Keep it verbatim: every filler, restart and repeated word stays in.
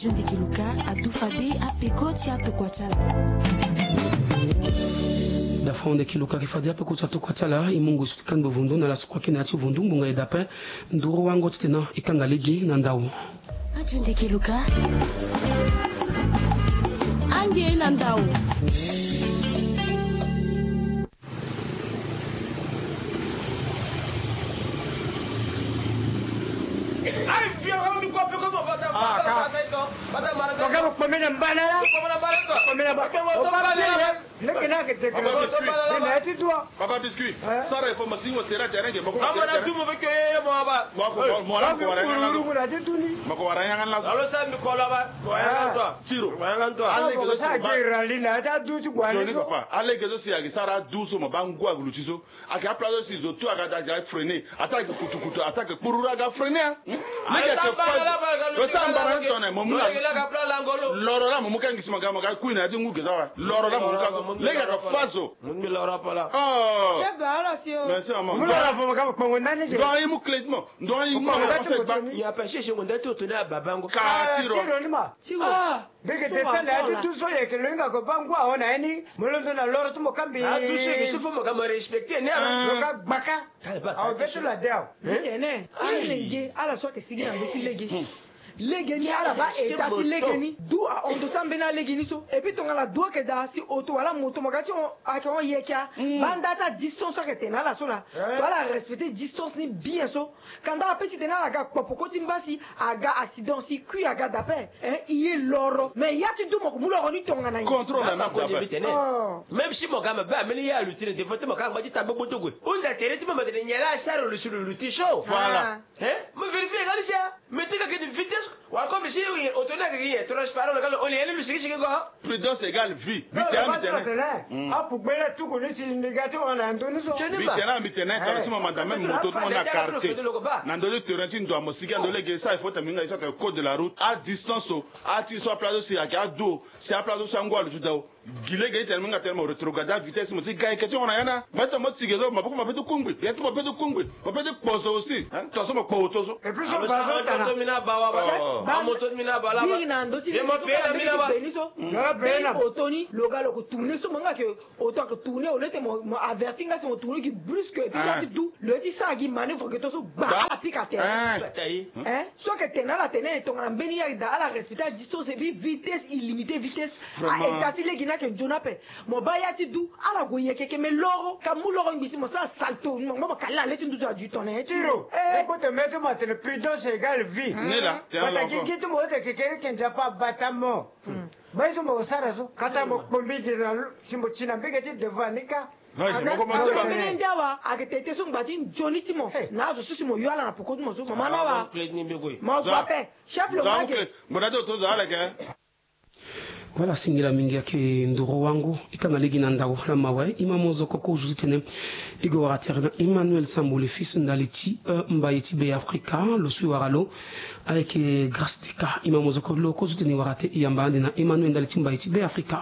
Ndeke Luka adu fade apeko ti atokua ti ala. Dafa ndeke Luka ke fade apeko ti atokua ti ala, e mungo e so ti kangbe vundu na laso kua kena ya ti vundu ngbonga e dape. Nduru wango titene e kanga lege na ndau. Aju ndeke Luka. Ange na ndau. Leke na ke teke. Papa Biscuit. Ina ya ti dua. Papa Biscuit. Hein? Sara il faut masi mo sera terrain ke bako mo sera terrain. Mo ko mo mo la ko wara yanga na ti tuni. Mo ko wara yanga na. Alo sa mi ko la ba. Wara yanga toi. Tiro. Wara yanga toi. Ale ke sa ke rali na ta du ti kwa ni. Papa, ale ke so si ake sara du so mo ba ngua gulu ti so. Ake apla so si zo tu aga da ja freiner. Ata ake kutukutu, ata ake kpururu aga freiner, hein. Meke ake fa. Lo sa mbara tone mo mu na. Loro la mo mu kangi sima ga mo ga kui na ya ti ngu geza wa. Loro la mo mu kangi. Lege ake fa zo. Mo mu loro pala. Oh. Merci maman. Mo loro pala mo ga mo kpongo nani je. Donc i mu clé mo. Donc i mu na conseil ba. Ya pa sese mo ndati otoni a babango. Ka tiro. Tiro ni ma. Tiro. Ah. Mbege tene na ya ti duso yeke lo hinga ko baa ngu ahon na ye ni. Mo londo na loro ti mo kambi. Ah, duso yeke so fo mo ga mo respecte ni ala. Lo ga gbaka. Awe be so la de awe. Tene alenge ala so ayeke sigi na ndö ti lege. Lege ni ala baa état ti lege ni. Du ahon ndö ti ambeni alege ni so. Et puis tongana du ayeke daa si oto wala moto mo ga ti hon ayeke hon yeke a. Baa nda ti adistance so ayeke tene na ala so laa. To ala respecte distance ni bien so. Kanda ape ti tene ala ga kpopoko ti mba si aga accident si kui aga dape. Hein, i ye loro. Mais ya ti du mo ko mu loro ni tongana ye. Contrôle na mbi dape. Même si mo ga mabe ameni ye aluti na devant ti mo ka ngba ti ta gbogbo togo. Hunda tere ti mo mo tene nyen la asara lo si lo luti so. Voilà. Hein? Mo vérifier nga ni si a. Mais ti ga ke ni vitesse. Wala comme si oto ni ayeke transparent lo ga lo oli ye ni lo sikisiki ko. Prudence égale vie. Mbi tene mbi tene. Akugbe la tuku ni si ni ga ti hon na ndö ni so. Mbi tene mbi tene tara si mo manda même moto ti mo na quartier. Na ndö ti terrain ti ndo amo sigi ando lege sa il faut tene mbi hinga ye so atene code de la route. Adistance so. Ati so apla so si ayeke adu o. Si apla so si angu alutu daa o. Gi lege ti tene mbi hinga tene mo rétrograde avitesse mo ti ga yeke ti hon na ya ni. Mbi tene mo ti ge so maboko mo peut ti kungbi. Ge ti mo peut ti kungbi. Mo peut ti kpo zo aussi. Hein? Tongaso mo kpo oto so. Et puis so ba so tana. Amoto ni na bawa bawa. Amoto ni na bawa. Biri na ndo ti lege so kala mbeni so. Beni oto ni lo ga lo ko tourner so mo nga ke oto ake tourner au lieu ti mo avertir nga si mo tourner gi brusque et puis ya ti du lo ye ti sara gi manœuvre ke to so gba ala pika tere. Hein? So ake tene ala tene e tongana mbeni ya da ala respecter a distance et puis vitesse illimité vitesse. A état ti lege ni ake nzoni ape. Mo baa ya ti du ala gue yeke ke me loro ka mu loro ngbi si mo sara salto mo ngba mo kali na le ti nduzu adu tongana ye ti. Tiro. Eko tene mbi ti mo atene prudence égale vie. Ni la. Pataki gi ti mo ete kekere ke nzapa abata mo. Baa ye so mo sara so kata mo kpo mbege na lo si mo ti na mbege ti devant ni ka. Ambeni nde awa ake tete so ngba ti nzoni ti mo na azo so si mo yo ala na poko ti mo so mama na awa. Mo zo ape. Chef lo make. Mo na do to zo ala ke. Voilà, singila mingi ayeke ndoro wango e kanga lege na ndau lama awe. E ma mozoko kozo ti tene e gue wara tere na Emmanuel Sambo le fils ndali ti e mbai ti Be Afrika lo so e wara lo. Ayeke Grâce Teka. E ma mozoko lo kozo ti tene e wara te e yamba ande na Emmanuel ndali ti mbai ti Be Afrika.